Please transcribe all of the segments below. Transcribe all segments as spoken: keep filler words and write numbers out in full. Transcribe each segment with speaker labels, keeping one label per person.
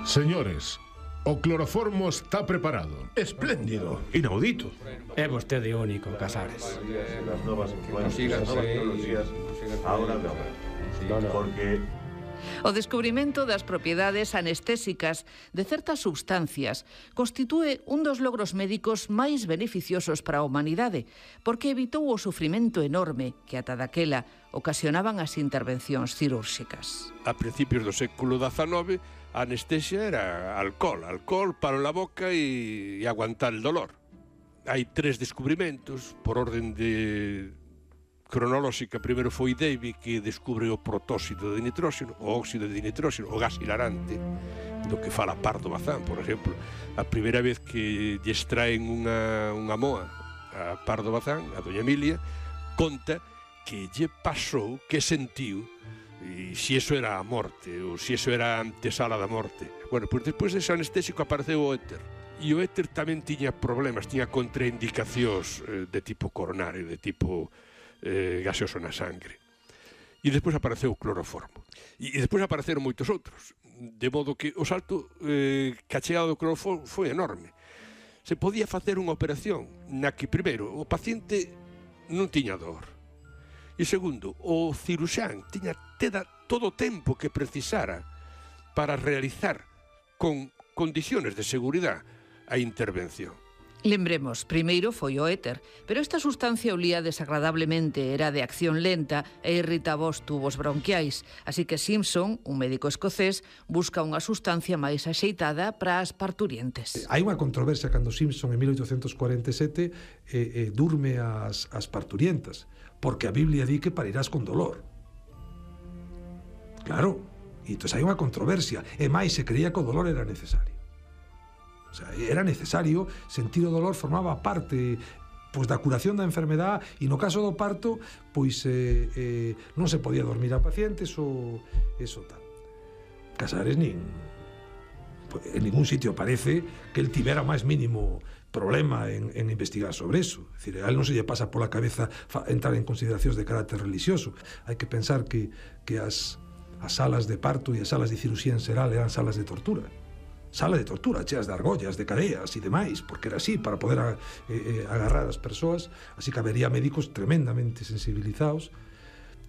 Speaker 1: Señores, o cloroformo está preparado.
Speaker 2: Espléndido.
Speaker 3: Inaudito.
Speaker 4: É vostede único, Casares.
Speaker 5: Las nuevas influencias, las nuevas tecnologías, ahora no. Porque
Speaker 6: O descubrimento das propiedades anestésicas de certas substancias constitúe un dos logros médicos máis beneficiosos para a humanidade, porque evitou o sufrimento enorme que ata daquela ocasionaban as intervencións cirúrxicas.
Speaker 3: A principios do século dezanove, a anestesia era alcohol, alcohol para a boca e, e aguantar el dolor. Hai tres descubrimentos por orden de cronolóxica. Primeiro foi Davy, que descubre o protóxido de nitróxeno, o óxido de nitróxeno, o gas hilarante, do que fala Pardo Bazán, por exemplo. A primeira vez que lle extraen unha, unha moa a Pardo Bazán, a doña Emilia, conta que lle pasou, que sentiu, e se iso era a morte, ou se iso era a antesala da morte. Bueno, pois despois dese anestésico apareceu o éter. E o éter tamén tiña problemas, tiña contraindicacións eh, de tipo coronario, de tipo eh, gaseoso na sangre. E despois apareceu o cloroformo. E, e despois apareceron moitos outros. De modo que o salto eh, que a chegada do cloroformo foi enorme. Se podía facer unha operación na que, primeiro, o paciente non tiña dor. E segundo, o ciruxán tiña teda todo o tempo que precisara para realizar con condiciones de seguridade a intervención.
Speaker 6: Lembremos, primeiro foi o éter, pero esta sustancia olía desagradablemente, era de acción lenta e irritaba os tubos bronquiais, así que Simpson, un médico escocés, busca unha sustancia máis axeitada para as parturientes.
Speaker 2: Hai unha controversia cando Simpson en mil oitocentos cuarenta e sete eh, eh, durme as, as parturientas, porque a Biblia di que parirás con dolor. Claro, e entón hai unha controversia, e máis se creía que o dolor era necesario. O sea, era necesario, sentir o dolor formaba parte pois da curación da enfermedade, e no caso do parto pois eh, eh, non se podía dormir a pacientes ou eso tal. Casares nin en ningún sitio parece que el tivera máis mínimo problema en, en investigar sobre eso. É dicir, a él non se lle pasa pola cabeza entrar en consideracións de carácter religioso. Hai que pensar que, que as, as salas de parto e as salas de cirugía en xeral eran salas de tortura. Sala de tortura, cheas de argollas, de cadeas e demais, porque era así, para poder a, eh, agarrar as persoas. Así que habería médicos tremendamente sensibilizados.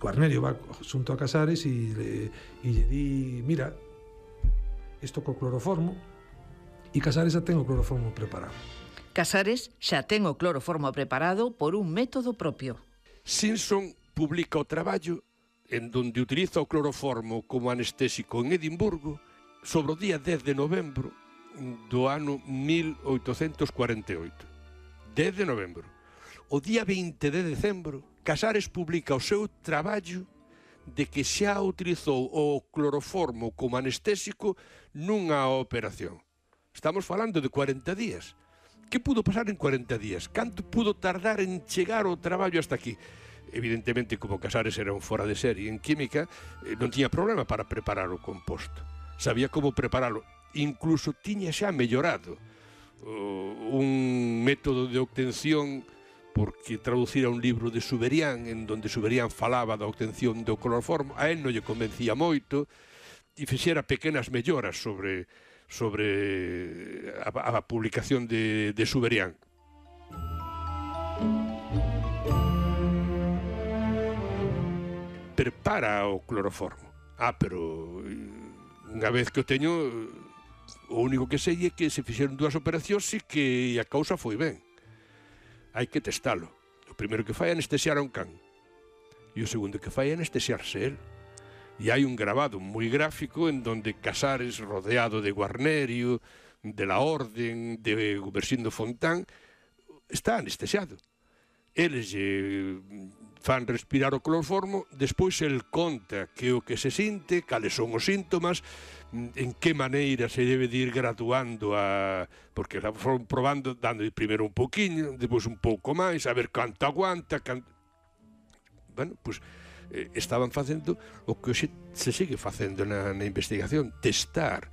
Speaker 2: Cornelio va xunto a Casares e le, e lle di, mira, isto co cloroformo, e Casares xa ten o cloroformo preparado.
Speaker 6: Casares xa ten o cloroformo preparado por un método propio.
Speaker 3: Simpson publica o traballo en donde utiliza o cloroformo como anestésico en Edimburgo sobre o día dez de novembro do ano mil oitocentos cuarenta e oito. dez de novembro. O día veinte de decembro, Casares publica o seu traballo de que xa utilizou o cloroformo como anestésico nunha operación. Estamos falando de cuarenta días. Que pudo pasar en cuarenta días? Canto pudo tardar en chegar o traballo hasta aquí? Evidentemente, como Casares era un fora de serie en química, non tiña problema para preparar o composto. Sabía como preparalo. Incluso tiña xa mellorado uh, un método de obtención, porque traducira un libro de Suberian, en donde Suberian falaba da obtención do cloroformo. A él non lle convencía moito, e fixera pequenas melloras sobre, sobre a, a publicación de, de Suberian. Prepara o cloroformo. Ah, pero unha vez que o teño, o único que sei é que se fixeron dúas operacións e que a causa foi ben. Hai que testalo. O primeiro que fai é anestesiar a un can, e o segundo que fai é anestesiarse el. E hai un grabado moi gráfico en donde Casares, rodeado de Guarnerio, de la Orden, de Gumersindo Fontán, está anestesiado. Eles lle fan respirar o cloroformo, despois el conta que o que se sinte, cales son os síntomas, en que maneira se debe de ir graduando a... porque la foron probando, dando primeiro un pouquiño, despois un pouco máis, a ver canto aguanta, canto... Bueno, pois pues, eh, estaban facendo o que hoxe se sigue facendo na, na investigación, testar